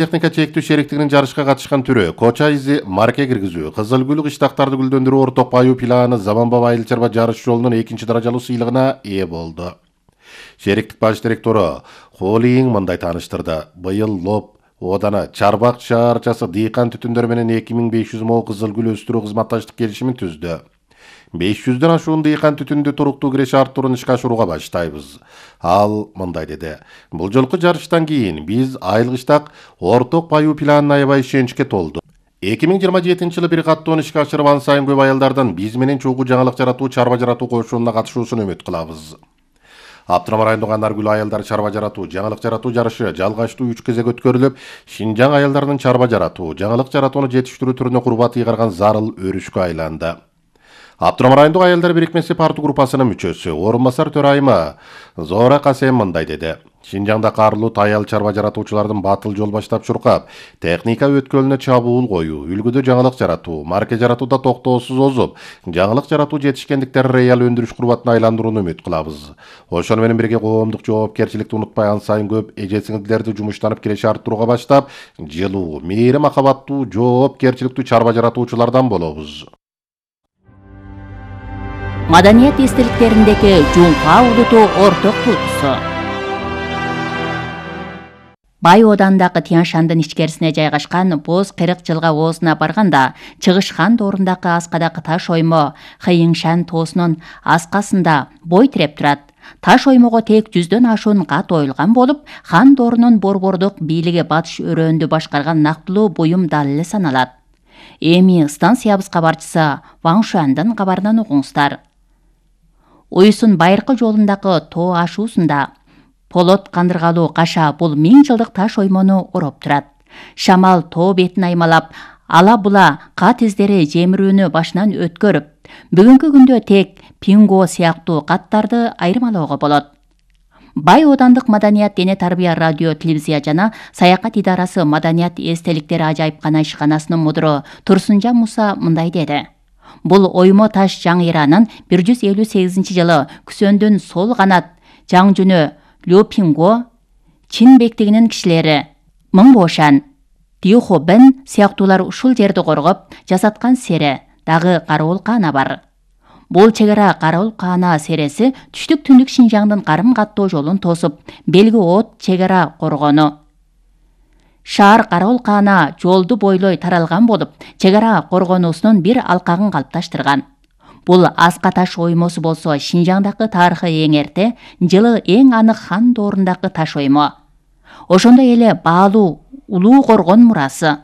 Техника чектүү шериктигинин жарышка катышкан түрү Коча изи марке киргизүү, Кызыл гүл кыштактарды гүлдөндүрүү орток баюу планы Заманбап айыл чарба жарыш жолунун 2 даражалуу сыйлыгына ээ болду. Шериктик баш директору Холиң мындай тааныштырды. Быйыл Лоп Одана Чарбак шаарчасы дыйкан түтүндөр менен 2500 мо кызыл гүл өстүрүү кызматташтык келишимин түздү. 500дөн ашуун дыйкан түтүндү туруктуу киреше арттыруун ишке ашырууга баштайбыз. Ал мындай деди. Бул жолку жарыштан кийин биз айыл кыштак орток баюу планына аябай ишеничке толду. 2027-жылы бир каттоон ишке ашырып ан сайын көп айылдардын биз менен чогуу жаңылык жаратуу, чарба жаратуу кошунуна катышуусун үмүт кылабыз. Аптырам районундагы Наргүл айылдар чарба жаратуу, жаңылык жаратуу жарышы жалгачтуу 3 кезек өткөрүлүп, Шинжаң айылдарынын чарба жаратуу, жаңылык жаратууну жетиштирүү түрүнө курбат ыйгарган зарыл өрүшкө айланды. Аптырам райондук айылдар бирикмеси парту группасынын мүчөсү, орун басар төрайымы Зора Касем мындай деди. Шинжаңда карлуу таял чарба жаратуучулардын батыл жол баштап чуркап, техника өткөлүнө чабуул коюу, үлгүдө жаңылык жаратуу, марке жаратууда токтоосуз озуп, жаңылык жаратуу жетишкендиктер реал өндүрүш курбатына айландырууну үмүт кылабыз. Ошону менен бирге коомдук жоопкерчиликти унутпай ан сайын көп эже-сиңдилерди жумуштанып киреше арттырууга баштап, жылуу, мээри махабаттуу, жоопкерчиликтүү чарба жаратуучулардан болобуз. Маданият эстеликтериндеги Жумка улуту орток туутусу. Бай Оодандагы Тянь-Шандын ичкерисине жайгашкан Боз Кырык жылга оозуна барганда, Чыгышхан доорундағы аскадагы таш оймо Хыйыңшан тоосунун аскасында бой тиреп турат. Таш оймого тек 100дөн ашуун кат оюлган болуп, хан доорунун борбордук бийлиги батыш өрөөндү башкарган нактылуу буюм далили саналат. Эми станциябыз кабарчысы Ваң Шуандын кабарынан угуңуздар. Уйсун байыркы жолундагы тоо ашуусунда полот кандыргалуу каша бул 1000 жылдык таш оймону ороп турат. Шамал тоо бетин аймалап, ала була кат издери жемирүүнү башынан өткөрүп, бүгүнкү күндө тек пинго сыяктуу каттарды айырмалоого болот. Бай Оодандык Маданият дене тарбия радио телевизия жана саякат идарасы Маданият эстеликтери ажайыпкана ишканасынын мудуру Турсунжан Муса мындай деди. Бул оймо таш жаңыйранын 158-жылы Күсөндүн сол канат жаңжүнү Лю Пинго, Чин бектигинин кишилери Мыңбошан, Тиухо Бен сыяктуулар ушул жерди коргоп жасаткан сере, дагы Караул Каана бар. Бул чегара Караул Каана сереси түштүк түндүк Шинжаңдын карым каттоо жолун тосуп, белги от чегара коргону. Шаар Караул Каана жолду бойлой таралган болуп, чегара коргонуусунун бир алкагын калыпташтырган. Бул аска таш оймосу болсо Шинжаңдагы тарыхы эң эрте, жылы эң анык хан доорундагы таш оймо. Ошондой эле баалуу улуу коргон мурасы.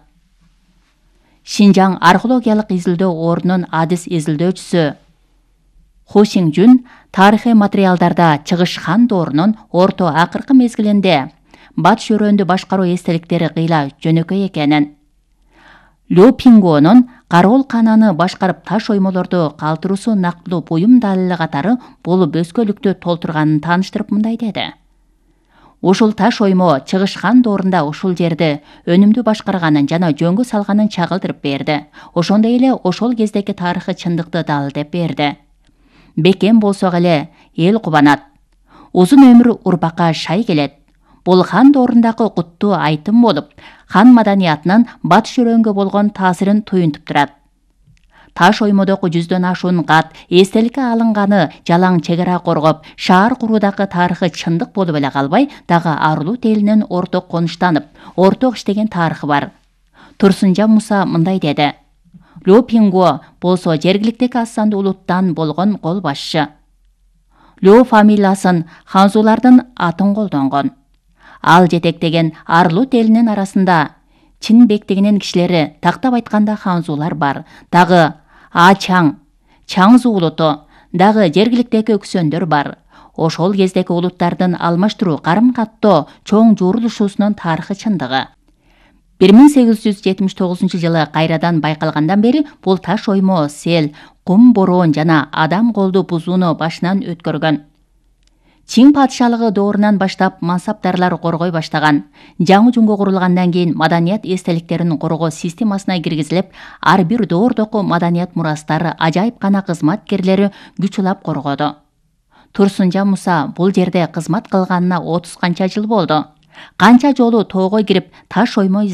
Шинжаң археологиялык изилдөө ордунун адис изилдөөчүсү Ху Сиңжүн тарыхый материалдарда Чыгышхан доорунун орто акыркы мезгилинде батыш өрөөндү башкаруу эстеликтери кыйла жөнөкөй экенин, Лю Пингонун Караул Каананы башкарып таш оймолорду калтыруусу нактылуу буюм далили катары болуп өзгөлүктү толтурганын тааныштырып мындай деди. Ушул таш оймо Чыгышхан доорунда ушул жерди өнүмдүү башкарганын жана жөнгө салганын чагылдырып берди. Ошондой эле ошол кездеги тарыхый чындыкты далилдеп берди. Бекем болсок эле эл кубанат. Узун өмүр урбакка шай келет. Бул хан доорундагы куттуу айтым болуп, хан маданиятынын батыш өрөнгө болгон таасирин туюнтуп турат. Таш оймодогу 100дөн ашуун кат эстеликке алынганы жалаң чегара коргоп, шаар куруудагы тарыхы чындык болуп эле калбай, дагы Арлуу элинин орток конуштанып, орток иштеген тарыхы бар. Турсунжан Муса мындай деди. Лю Пинго болсо жергиликтеги аз сандуу улуттан болгон кол башчы. Лю фамилиясын ханзулардын атын колдонгон. Ал жетектеген Арлуу элинин арасында Чин бектигинин кишилери, тактап айтканда ханзулар бар. Дагы Ачаң, Чаңзу улуту, дагы жергиликтеги өксөндөр бар. Ошол кездеги улуттардын алмаштыруу карым каттоо чоң журулушуусунун тарыхы чындыгы. 1879-жылы кайрадан байкалгандан бери бул таш оймо сел, кум бороон жана адам колду бузууну башынан өткөргөн. Чин падышалыгы доорунан баштап мансаптарлар коргой баштаган. Жаңы жунго курулгандан кийин маданият эстеликтерин коргоо системасына киргизилип, ар бир доордогу маданият мурастары ажайыпкана кызматкерлери күч улап коргоду. Турсунжан Муса бул жерде кызмат кылганына 30 канча жыл болду. Канча жолу тоого кирип таш оймо